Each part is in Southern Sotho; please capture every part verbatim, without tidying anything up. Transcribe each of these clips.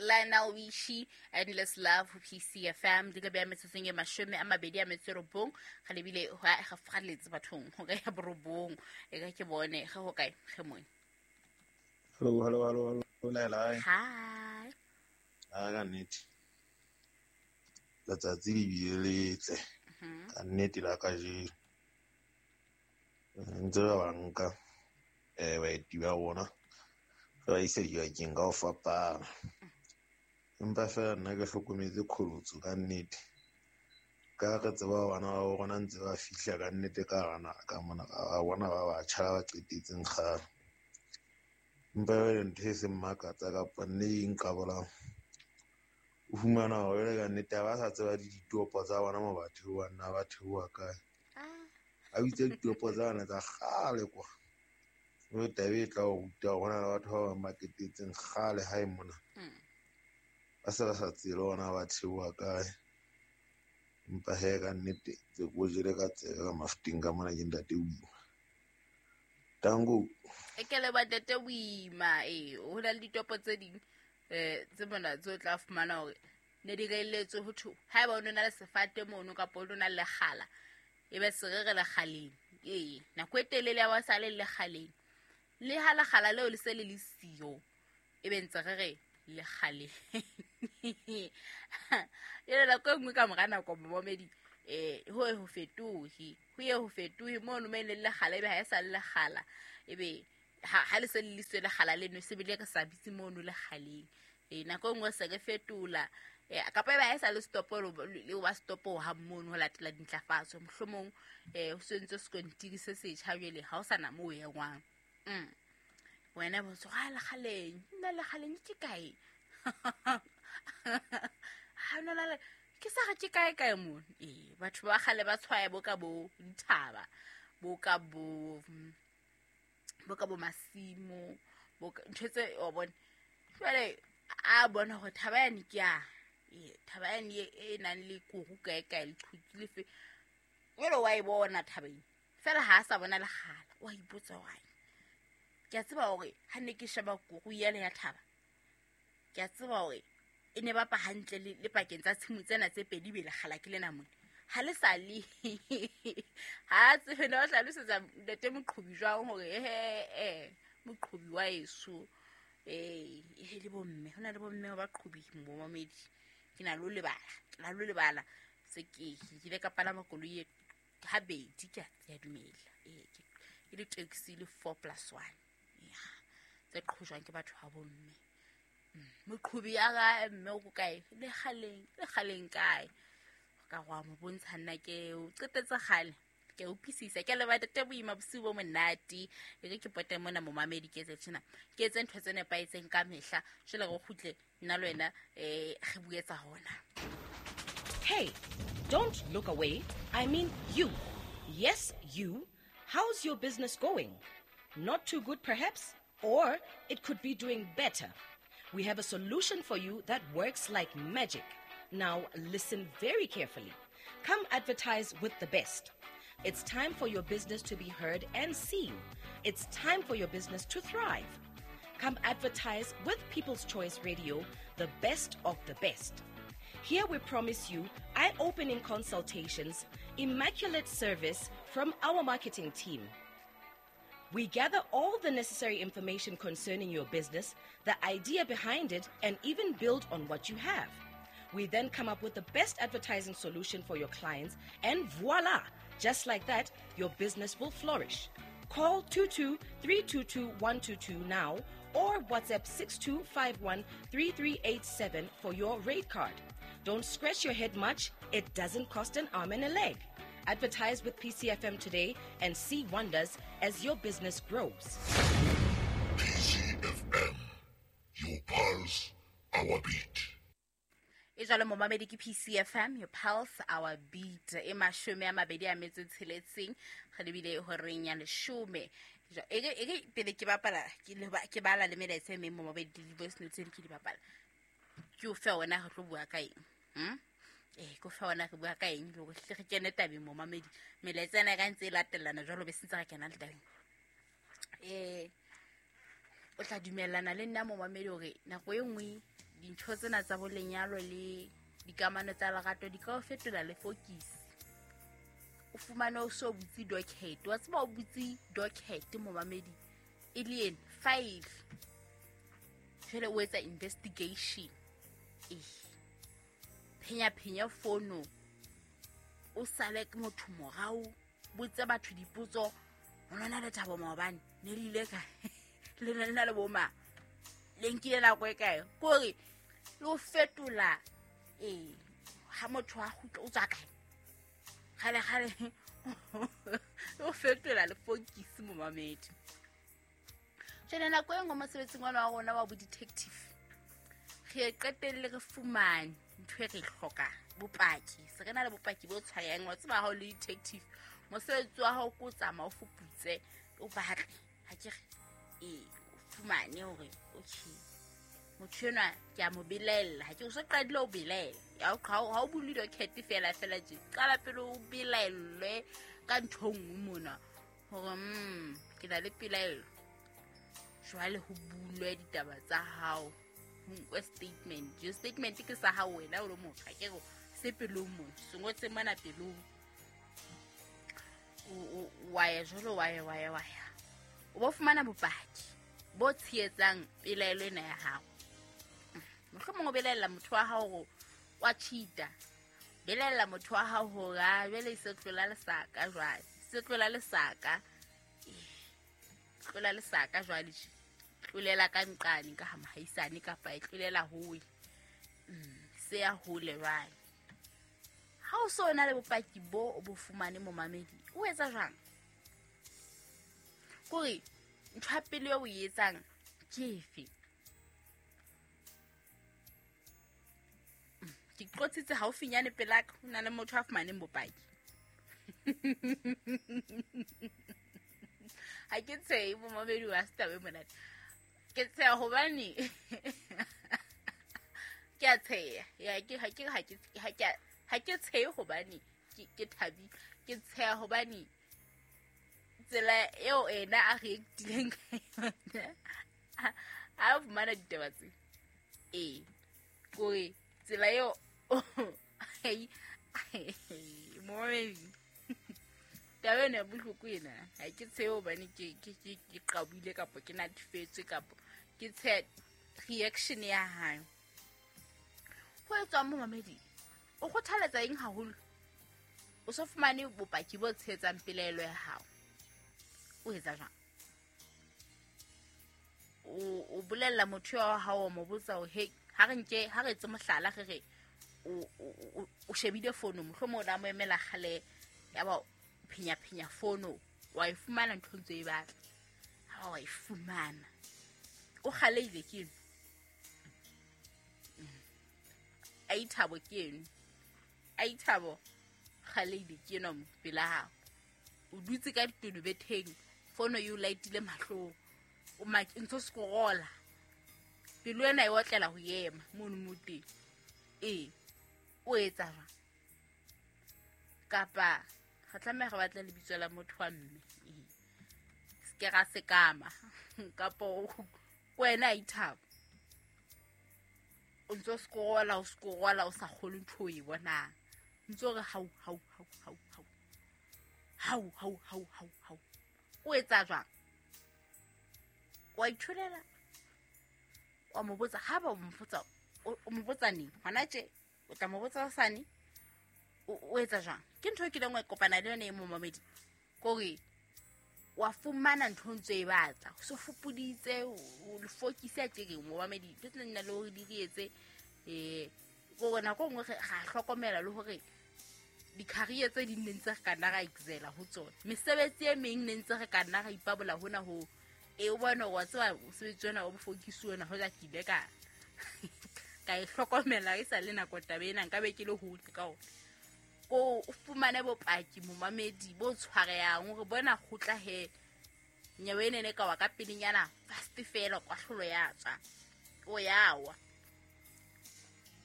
Lionel Richie, Endless Love ho P C F M. Di ka beha metsotsong e mashome a mabedi a metso e robong. Ga lebile ho a ga falletse bathong ho ka ya borobong. E ka ke bone ge ho kae ge mone. Hello, hello, hello, hello. Laila. Hi. A ka nnete. Letsatsi le bile letle. Ka nnete la kajeno. Ntse ba banka eh baeti ba rona. Re ba isa dibakeng ka ho fapana. Empa feela nna ke hlokometse qholotso ka nnete. Ka re tseba bana ba rona ntse ba fihla ka nnete ka hara naha ka mona, ba bona ba batjha ba qetetseng kgale. Empa jwale ntho e seng makatsa kapa nne e nqabolang, o fumana hore jwale ka nnete ha ba sa tseba le ditopo tsa bona moo ba theohang na ba theoha kae. Ba bitsa ditopo tsa bona tsa kgale kwa. Mme taba e tla o ruta hore hona le batho ba bang ba qetetseng kgale hae mona. Ba se ba sa tsebe hore na ba theoha kae. Empa he ka nnete tse ko jele ka tsebe ka Mafuteng ka mona ke ntate Boima. Tango. E ke le ba ntate Boima, eh, ho na le ditopo tse ding, eh, tse mona tse o tla fumana hore ne di reelletswe ho thwe haeba o no na le sefate mono kapa o no na le lekgala, e be se re re lekgaleng. Ee, nako e telele ya ba sa le lekgaleng. Le ha lekgala leo le se le le siyo, e be ntse re re lekgaleng. Jwale nako e nngwe ka mora nako momamedi, eh, ho ye ho fetohe, ho ye ho fetohe mono mo e leng lekgala, ebe ha e sa le lekgala, ebe ha, ha le se le liswe lekgala leno, se bile re sa bitse mono lekgaleng. Eh, nako e nngwe se re fetola, eh, kapa ebe ha e sa le stopo, le wa stopo ha mono ho latela dintlafatso. Mohlomong, eh, ho sentse sekontiri se setjha jwale, ha ho sa na moo o engwang. Mm. Wena bo tswa lekgaleng, nna lekgaleng ke kae? Ha no la ke sa re ke kae kae mono? Eh, batho ba kgale ba tshwaya bo ka bo dithaba, bo ka bo, bo ka bo masimo, bo ka, ntho tse o bona. Jwale a bona hore thaba yane ke ya, eh, thaba yane e, e nang le kuru kae kae, leqhutu lefe. Jwale wa e bona thaba ena. Feela ha a sa bona lekgala, wa ipotsa hore ai. Ke a tseba hore ha ne ke sheba kuru yale ya thaba, ke a tseba hore e ne bapa hantle le, le pakeng tsa tshimo tsena tse pedi be lekgala ke lena mona. Ha le sa le. Ha tsebe na o hlalosetsa ntate moqhobi jwang hore, eh, eh, moqhobi wa eso. Eh, eh, le bomme, ho na le bomme ba qhobi momamedi. Ke na le ho lebala, ke na le ho lebala. Se ke, ke ile ka palama koloi e habedi, ke a, ke a dumela. Eh, ke, ke le taxi le four plus one. Ya, tse qhojwang ke batho ba bomme. Moqhobi ya ka mme o ko kae? Lekgaleng, lekgaleng kae? O ka go a mo bontsha nna ke o qetetse kgale. Ke a utlwisisa. Ke a leboha ntate Boima, bosiu bo monate. E re ke pote mona momamedi, ke etse tjena. Ke etse ntho tse nepahetseng ka mehla. Jwale re kgutle nna le wena, eh, re bue tsa hona. Hey, don't look away. I mean you. Yes, you. How's your business going? Not too good, perhaps? Or it could be doing better. We have a solution for you that works like magic. Now, listen very carefully. Come advertise with the best. It's time for your business to be heard and seen. It's time for your business to thrive. Come advertise with People's Choice Radio, the best of the best. Here we promise you eye-opening consultations, immaculate service from our marketing team. We gather all the necessary information concerning your business, the idea behind it, and even build on what you have. We then come up with the best advertising solution for your clients, and voila! Just like that, your business will flourish. Call two two three two two one two two now or WhatsApp six two five one three three eight seven for your rate card. Don't scratch your head much. It doesn't cost an arm and a leg. Advertise with P C F M today and see wonders as your business grows. P C F M, your pulse, our beat. E jwalo momamedi ke P C F M, your pulse, our beat. E mashome a mabedi a metso e tsheletseng, re lebile horeng ya leshome. Jwa, e re, e re pele ke bapala, ke le ba, ke bala le melaetsa e meng momamedi, le di-voice notes tse di ke di bapala. Ke o fe wena re tlo bua ka eng? Hmm? Eh, ke o fe wena re bua ka eng? Le hore hle re kene tabeng momamedi. Melaetsa ena e ka ntse e latellana jwalo, be se ntse re kena le tabeng. Eh, o tla dumellana le nna momamedi hore nako e nngwe dintho Dintho tsena tsa bo lenyalo le dikamano tsa lerato di ka o fetola le focus. O fumane o so butse docket. Wa tseba o butse docket momamedi e le ena file. Jwale o etsa investigation. Eh. Phenya phenya fono. O sale ke motho morao, botse batho dipotso. O nona le Thabo maobane ne le ile kae? Le ne le na le boma. Le nkile nako e kae? Kore le o fetola eh ha motho a kgutla o tswa kae? Kgale kgale o fetola le focus momamedi. Jwale nako e nngwe mosebetsing wa rona wa bo detective re qetelle re fumane ntho e re hlokang, bopaki. Se re na le bopaki bo tshwayang. Wa tseba ha o le detective mosebetsi wa hao ke o tsamaya o fuputse o batle ha ke re eh o fumane hore okay motho enwa ke a mo belaella. Ha ke o so qadile o belaela ya ha o bule docket fela fela tje qala pele o belaellwe ka ntho e nngwe mona hore mm ke na le pelaelo. Jwale ho bulwe ditaba tsa hao, ho nkwe statement. Jo statement ke sa hao wena o le motho ha ke re se pelong mona se ngotse mona pelong. O wa ya jwalo wa ya wa ya wa ya o bo fumana bopaki bo tshehetsang pelaelo ena ya hao. Mohlomong o belaella motho wa hao hore wa cheat-a, belaella motho wa hao hore a jwale se tlola lesaka jwale se tlola lesaka tlola lesaka jwale tlolela ka nqane ka ha mohaisane kapa e tlolela hole se ya hole jwale. Ha o so na le bopaki bo o bo fumane momamedi o etsa jwang? Kore ntho ya pele eo o e etsang ke efe? Ke qotsitse haufinyane pelaka ho na le motho a fumaneng bopaki. Ha ke tshehe momamedi wa setaba e monate. Ke tsheha hobane ke a tsheha. Ya ke ha ke ha ke ha ke ha ke tshehe hobane ke ke thabile. Ke tsheha hobane tsela eo ena a reactileng ka yona a fumana ditaba tse. Eh kore tsela eo momamedi taba ena ya bohloko ena ha ke tshehe hobane ke ke ke ke qabile kapa ke natefetswe kapa ke tsheha reaction ya hae. Ho etswang momamedi o kgothaletsa eng haholo? O so fumane bopaki bo tshehetsang pelaelo ya hao. O etsa jwang? O o bolella motho wa hao o mo botsa hore hey ha re nke ha re etse mohlala re re o o o shebile fono mohlomong o la mo emela kgale ya ba phenya phenya fono wa e fumana ntho ntse e batla. Ha wa e fumana o kgaleile ke eno a ithabo ke eno a ithabo kgaleile ke eno pela hao. O dutse ka ditono betheng fono e o laitile mahlong o ntso scrolla pelo ena e otlela ho ema mono mo teng. Eh o etsa jwang? Kapa re tlameha re batla lebitso la motho wa mme se ke ra sekama kapa wena a ithabo o ntso scrolla o scrolla o sa kgole ntho e bonang ntso re hau hau hau hau hau hau hau hau hau hau o etsa jwang? Wa ithulela wa mo botsa ha ba o mpotsa o mo botsa neng hona tje o tla mo botsa sane o etsa jwang? Ke ntho e kileng wa kopana le yona e momamedi kore wa fumana ntho ntse e batla o so fupuditse o le focus ya tje momamedi ntho tsena nna le hore di re etse eh gore nako nngwe ga hlokomela le hore di-career tse ding ne ntse re ka nna ra excela ho tsona mesebetsi e meng ne ntse re ka nna ra ipabola hona ho e o bona wa tseba mosebetsi ona wa bofokisi ona hoja ke ile ka ka e hlokomela e sa le nako taba ena nka be ke le hole ka ona. Ko o fumane bopaki momamedi bo tshwarehang hore bona kgutla he nyewe ene ne ka wa ka pelenyana fast fela kwahlolo ya tswa o yawa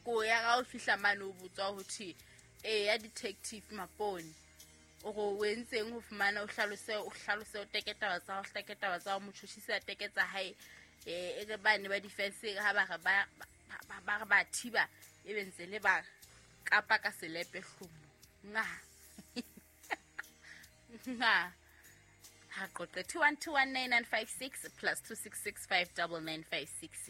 ko ya ga o fihla mane o botswa ho thwe e ya detective Mapone o go o entseng ho fumana o hlalose o hlalose o teke taba tsa ho hlake taba tsa motjhushisi a teke tsa hae eh e re bane ba defense ha ba re ba ba ba re ba thiba e be ntse le ba kapa ka selepe hlomo nga nga ha qoqe two one two one nine nine five six plus two six six five nine nine five six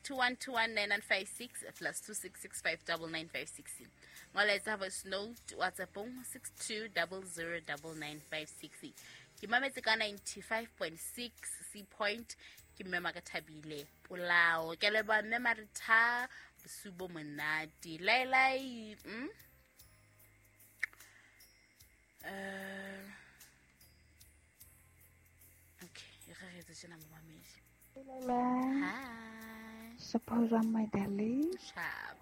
two one two one nine nine five six plus two six six five nine nine five six. Molaetsa voice note WhatsApp six two zero zero nine nine five six. Ke mametse ka ninety-five point six C point ke mme Makathabile Polao. Ke leboha mme Maritha bosiu monate. Lai lai mm? Uh, okay, re re tsena mo mamedi. Hi. Suppose I'm my darling. Sharp.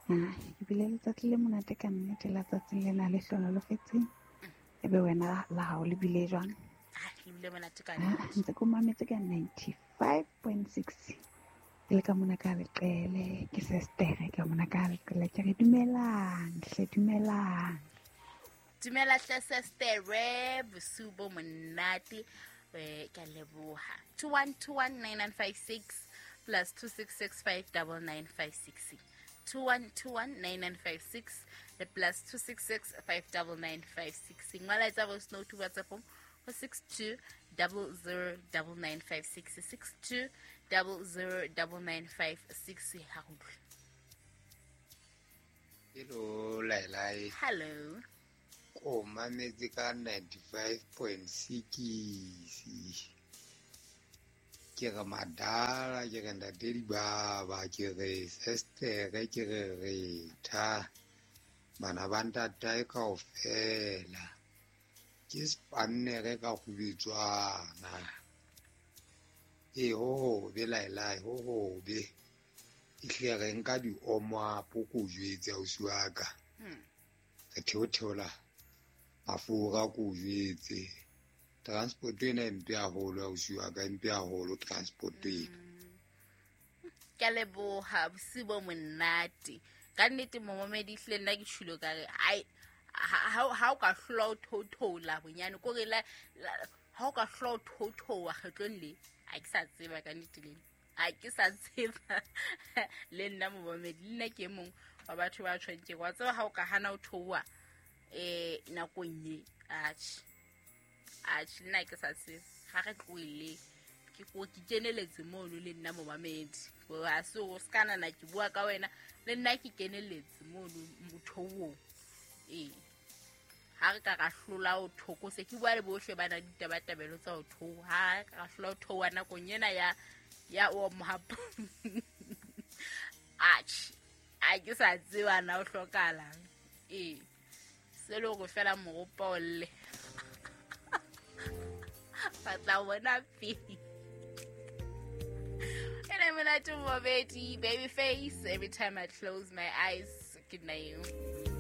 Ah, ebile letsatsi le monate ka nnete la tsatsing lena le hlonolofetseng. Ebe wena la hao le bile jwang? Ah, le bile monate ka nnete. Ntse ko mametse ka ninety-five point six. Ke le ka mona ka leqele, ke sestere ka mona ka leqele. Ke re dumelang, hle dumelang. Dumela hle sestere, bosiu bo monate. Eh, ke a leboha. two one two one nine nine five six plus two six six five nine nine five six. two one two one nine nine five six le plus two six six five nine nine five six. Molaetsa voice note WhatsApp ho six two zero zero nine nine five six six two zero zero nine nine five six. Ha go utlwe. Hello Lailai. Hello. Ko mametse ka ninety-five point six. Ke re madala, ke re ntate dibaba, ke re sestere, ke re retha. Bana ba ntatae kaofela. Ke spannere ka kgubetswana. E ho hobe Lailai, ho hobe. Ehlile re nka di-omo-apo ko jwetse ausi wa ka. Re theotheola mafura ko jwetse. Transport ena e mpe haholo ausi wa ka, e mpe haholo transport ena. Ke a leboha bosiu bo monate. Ka nnete momamedi ehlile nna ke tjhilo ka re ai ha ha o ka hlola o thothola bonyane ko re la ha o ka hlola o thothoa kgetlong le ha ke sa tseba ka nnete le ha ke sa tseba le nna momamedi le nna ke mong wa batho ba tshwantse wa tseba ha o ka hana o thoa eh nakong e atjhe atjhe nna ke sa tsebe ha re tlohele ke ko ke keneletse mono le nna momamedi ha se o skana na ke bua ka wena le nna ke keneletse mono motho ee ha re ka ra hlola o thoko se ke bua le bohle ba na ditabatabelo tsa ho thoha ha re ka ra hlola o thoha nakong ena ya ya o mohapo atjhe a ke sa tseba na o hlokahalang ee se le hore fela moropa o lle ba tla bona pele. And I'm gonna do my baby face every time I close my eyes. Good night.